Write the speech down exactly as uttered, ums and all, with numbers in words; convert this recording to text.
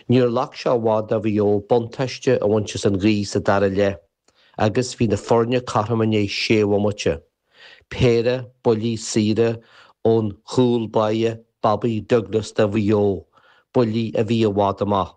Níor ghlac sé i bhfad do Mhaigh Eo buntáiste a bhaint as an ghaoth sa dara leath, agus bhí na foirne cothrom i ndiaidh sé bhomaite. Péire buillí saora ón chúl báire Bobby Douglas do Mhaigh Eo, buillí a bhí i bhfad amach.